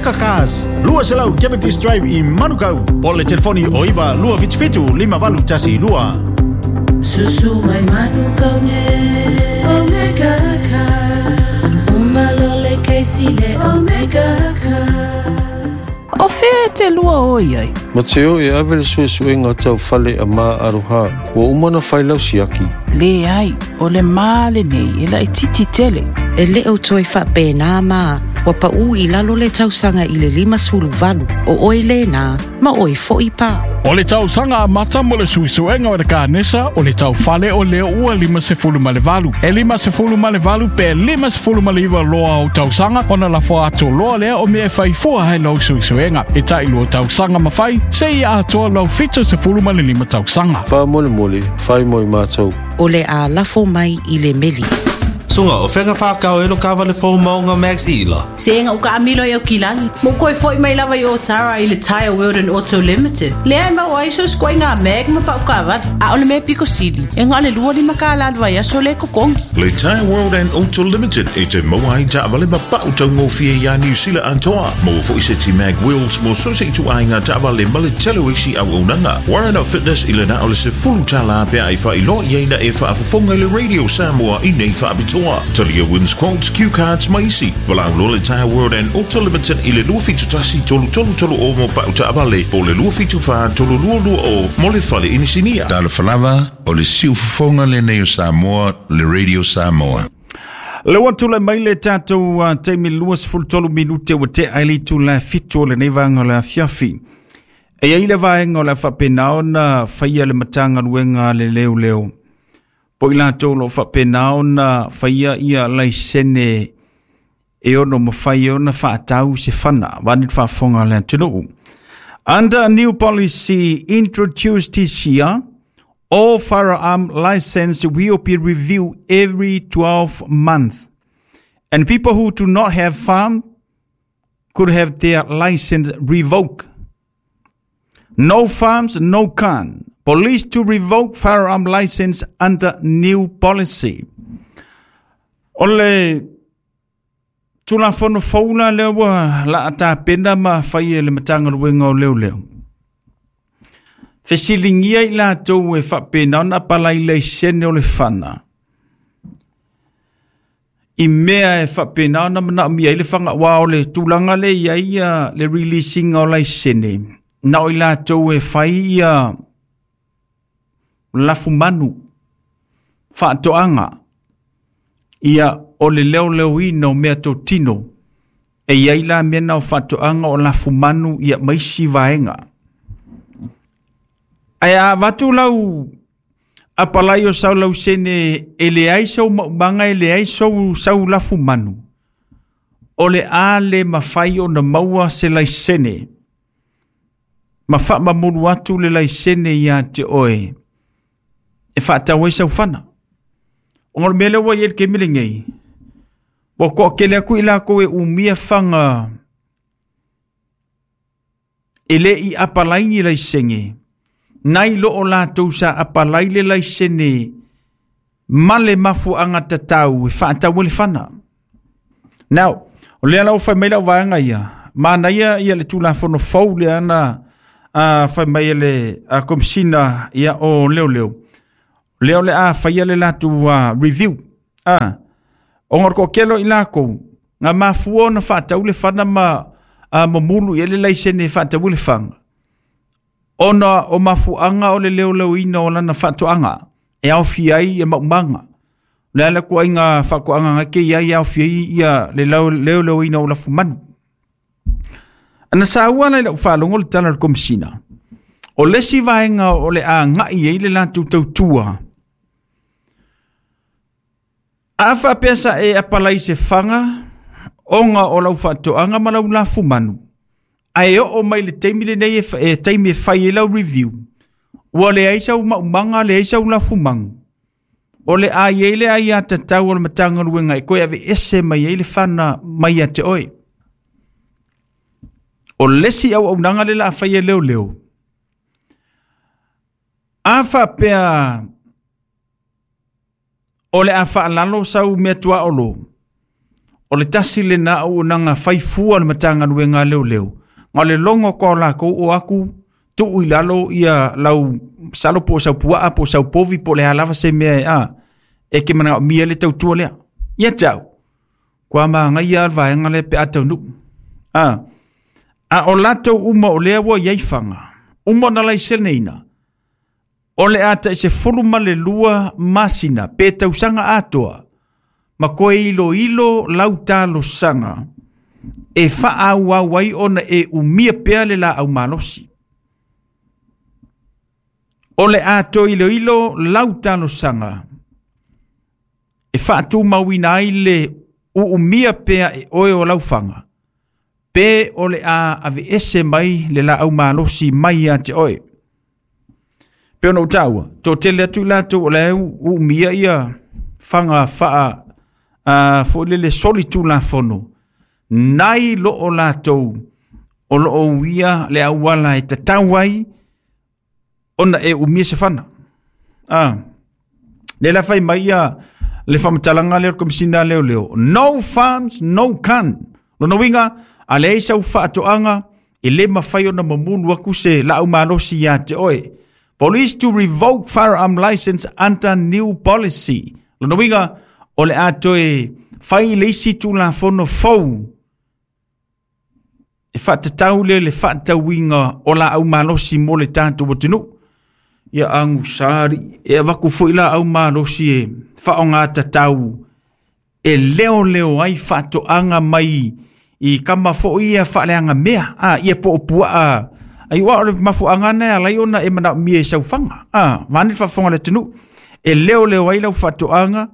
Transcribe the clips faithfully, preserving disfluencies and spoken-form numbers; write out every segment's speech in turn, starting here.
Omega Cars, lua selau Cavendish Drive i Manukau. Po le telefoni o iva lua fitu fitu lima valu tasi lua. Susu mai Manukau ne Omega Cars. Umalole keisi le Omega Cars. O fea te lua oi ai? Ma te o e ave le suesuega tau fale a ma aroha. Ua uma na whailau siaki. Le ai, o le maale nei e lai titi tele. E le o toi whapena mā, wa pa u i lalo le tausanga i le lima sulu valu, o oi le nā, ma oi fo i pā. O le tausaga amata mo le suesuega o le kanesa o le taufale o lea ua lima sefulu ma le valu. E lima sefulu ma le valu pe lima sefulu ma le iwa loa o tausaga ona lafo atu loa lea o mea e faifua hai lau suesuega. E tai lua tausaga mawhai, se i atoa lau fitu sefulu ma le lima tausaga. Wha mole mole, whai moi mātou. O le a lafo mai i le meli. Sunga o whenga whakau e lo kawa le fōmaunga Max Ila. Se enga uka amilo i au kilangi. Mo koe foi mai lava i o tara i le Tire World and Auto Limited. Lea e mau aiso skoe ngā mag ma pau kawara. A ole me piko sili. E ngā le lua lima ka lan vai aso le kokongi. Le Tire World and Auto Limited e te maua ai taavale ma pau taugofie ia New Zealand antoa. Mo foi se ti mag wheels mo so se tu ai ngā taavale ma le tele isi au aunanga. Warren of Fitness i le na o le se fulu tala pea i wha ilo i eina e whaafafonga i le Radio Samoa i nei whaapitoa. Talia wins quotes, cue cards, maisi. Walau lo le Tire World and Auto Limited i le lua fitu tasi tolu tolu tolu o mo pau taavale po le lua fitu wha tolu lua lua o mo le fale inisinia. Talo falava o le siufofoga lenei o Samoa le Radio Samoa. Le ua tulai mai le tatou uh, taimi lua sefulu tolu minute ua tea ai le itula fitu o lenei vaega o le afiafi. E ai le vaega o le a faapena ona faia le Matagaluega a le Leoleo. Po i latou lo faapena ona faia ia laisene e ono mawhai ona whaatau se fana, wani whaafonga le atunuu. Under a new policy introduced this year, all firearm license will be reviewed every twelve months. And people who do not have farm could have their license revoked. No farms, no gun. Police to revoke firearm license under new policy. O le tulafono foula lea ua la tapena ma fai e le Matagaluega o Leoleo. Fesiligia i latou e faapena ona apalai laisene o le fana. I mea e faapena ona manaomia ai le fagaoa o le tulaga le i ai ia le releasing o laisene. Na o i latou e fai ia lafumanu faatoaga ia o le leoleoina o mea totino e iai la mea na o faatoaga o lafumanu ia maisi vaega. Ae a avatu lau apalai o sau lausene e leai sau maumaga e leai sau, sau lafumanu o le a le mafai ona maua se laisene ma faamamulu atu le laisene ia te oe e whaatau ai sau fana. O ngā mea lea ua i el ke mele ngei. Wa koa kele aku i lako e umia whanga e le i apalai ni laisenge. Nai lo o lātou sa apalai le laisene ma le mafuanga tatau e whaatau e le fana. Now, o lea lau whai mai lau vaanga ia. Mana ia ia le tulafono fou le ana uh, whai mai le uh, komisina ia o leo leo. Leo le a whaia le latu uh, review. Ah. O ngor ko kelo i lako. Ngā mafua na whaatau le whana ma uh, mamulu i le laisene whaatau le whanga. Ona o mafuanga o le leo leo ina o lana whaatoanga. E au fiai e maumanga. Le ala kua inga whakoanga ngake ia i au fiai ia le leo leo ina o lafu manu. Ana sa ua lai lau whaalongo le tala le komisina. O lesi vaenga o le a ngai e le latu tautua. A whapesa e apalai se whanga, onga o lau whaatoanga ma lau lafu manu. Ae o o mai le taimi le nei e taimi e whai e lau review. Ua le aisa u maumanga le aisa u lafu mangu. O le a i le ai a tatau o le matanga luenga e koe ave ese mai e le whana mai a te oe. O lesi au au nanga le la whai e leo leo. A whapea o le a whaalalo sau mea tua olo. O le tasi le na au nanga faifua le matanga luenga leo leo. Nga le longo kwa la kou o aku tuu i lalo ia lau salo po sau puaa po sau povi po le halawa se mea e a. E ke mana mia le tautua lea. Ia tau. Kwa maa ngai al vaenga le pe atau nu. A. A o latou uma o lea ua iai fanga. Uma na lai seneina. O le ata i se fulu ma le lua masina pe tausanga atoa. Ma koe ilo ilo lau talo sanga. E faa au au ai ona e umia pea le la au malosi. O le ato ilo ilo lau talo sanga. E faatu mauina ai le uumia pea e oe o laufanga. Pe o le a ave ese mai le la au malosi mai a te oe. Pe ona utaua, tō tele atu lato o le uumia ia fanga faa uh, fo le le soli tu la fono. Nai lo o lato o lo o uia le auala e tatau ai ona e umia se fana. Ah. Le la fai mai ia le whamatalanga leo komisina leo leo. No farms, no can. Lona winga, a le eisa uwhaatoanga, e le mawhai ona mamulu aku se lau malosi ia te oe. Police to revoke firearm license under new policy. Lona winga, o le atoe whai leisi tu la fono fou. E whaatatau le le whaatauinga o la au malosi mo le tātou watunu. Ia angu sari, e waku fui la au malosi e whaonga tatau. E leo leo ai whaatoanga mai i kama fo ia whaaleanga mea. Ah, ia po opua a. Ai wa o le mafuanga na alai ona e mana mie e sauwhanga. Ah, wani whafonga le tunu. E leo leo ai lau whaatoanga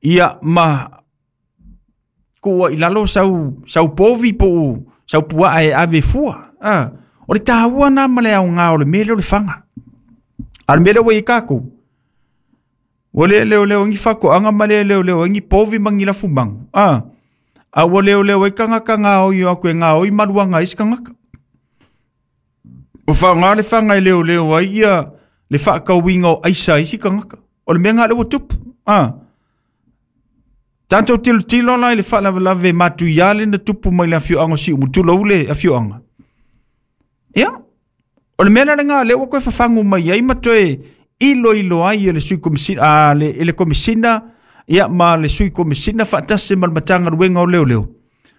ia ma kua i lalo sau, sau povi po sau pua e ave fua. Ah, o le tāua nā ma le au ngā o le mele o le whanga. A le mele o i kākou. O le leo leo ngi whako anga ma le leo leo ngi povi mangi la fumangu. Ah, a o leo leo i kangaka ngā oi o aku e ngā oi maruanga isi kangaka. O wha ngā le whanga i leo leo ai ia le whakauinga o aisa isi kangaka. O le mea ngā lewa tupu. Ah. Tātou tilo tilo lai le whalavelave matu iale na tupu mai le awhioanga si umutula ule awhioanga. Ia. O le mea la ngā lewa koe whawhangu mai ai matoe ilo ilo ai e le sui komisina, a le, e le komisina, ia ma le sui komisina whaatase ma le matanga ruenga o leo leo.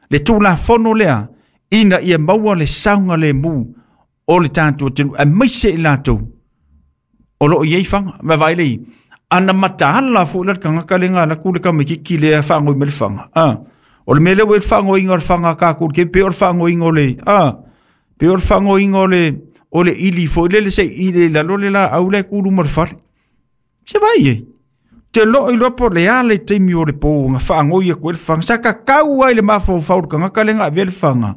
Le tūla fono lea, ina ia maua le saunga le mu o le tātou tenu, a maise i lātou. O loo iei whanga, ma vai lei, ana mataala fu la kangaka le ngā la kule ka mekiki le whango i me le whanga. Ah. O le mele o le whango inga o le whanga kākul, ke pe o le whango inga o le, ah, pe o le whango inga o le, o le ili fo le le se ile la lo le la au le kulu mo le fale. Se vai e. Te lo i lopo le ale te mi o le po nga whango ia koe le whanga. Sa ka kau ai le mawhau whau kangaka le ngā vele whanga.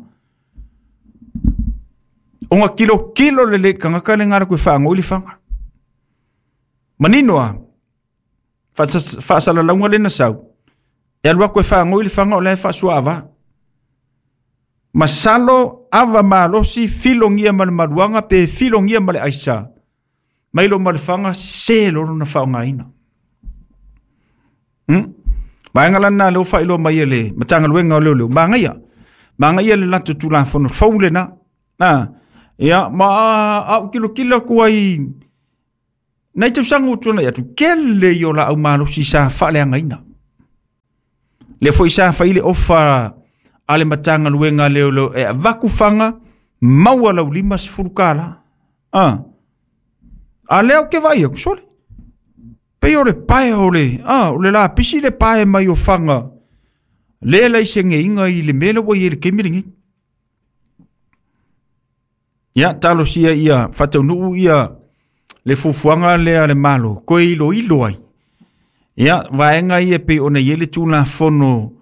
O ngā kilo kilo le le kangaka le ngā koe whango i le whanga. Maninoa, whaasala launga le nasau. E alua koe whango i le whanga o le whaasua awa. Masalo ava malosi filongia ma le maluanga pe filongia ma le aisa. Mai lo ma le whanga se lo na whaongaina. Hmm? Maenga lana leo whailo mai ele, matanga luenga o leo leo. Maangaia. Maangaia le lato tūla whono faule na. Ah, ia, ma au kilo kilo kuai. Nei tau sangu tuna ia tu kele i o la au malosi sa whaaleangaina. Le foi sa whaile ofa ale matanga luenga leo leo e vaku whanga maua lau lima sefulu kala. Ah. A leo ke vai aku sole. Pe o le pae o le, ah, o le la pisi le pae mai o whanga. Le lai se nge inga i le mele wa i le kemiringi. Ia, talo sia ia, whataunuu ia, le fufuanga lea le malo, koe ilo ilo ai. Ia, vaenga ia pe ona iele tūla fono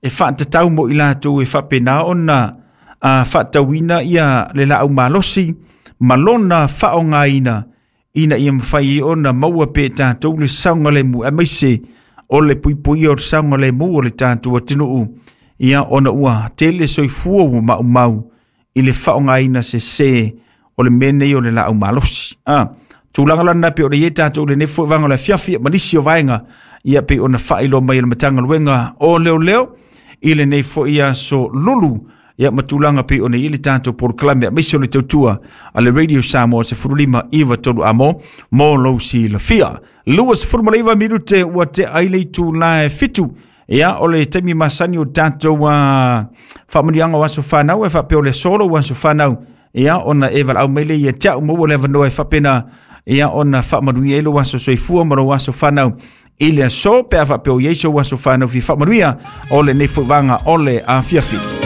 e whaatatau mo i lātou e whapena ona a whaatauina ia le lau malosi, malona whaongaina ina ia mwhai ona maua pe tātou le saunga le mu, a maise o le puipui o le saunga le mu o le tātou atinuu ia ona ua tele soifua ua mau mau i le whaongaina se se o le mene o le lau malosi. Ah, tūlanga lana pe o le ie tātou le nefo vanga le fiafi manisi o vaenga ia pe ona whailo mai le matanga luenga o leo leo. I lenei fo'i aso lulu ia matulanga pe ona i le tatou polokalame aemaise o le tautua a le Radio Samoa sefululima iva tolu amo mo lou silafia. Lua sefulu ma le iva minute ua tea ai le itulā e fitu. Ia o le taimi masani o tatou uh, faamanuiaga o aso fanau e faapea o le aso lou aso fanau ia ona e valaau mai lea ia te a'u maua le avanoa e faapena ia ona faamanuia ai lou aso soifua ma lou aso fanau i le aso pe a faapea o iai sou aso fanau fia faamanuia o lenei fo'i vaga o le afiafi.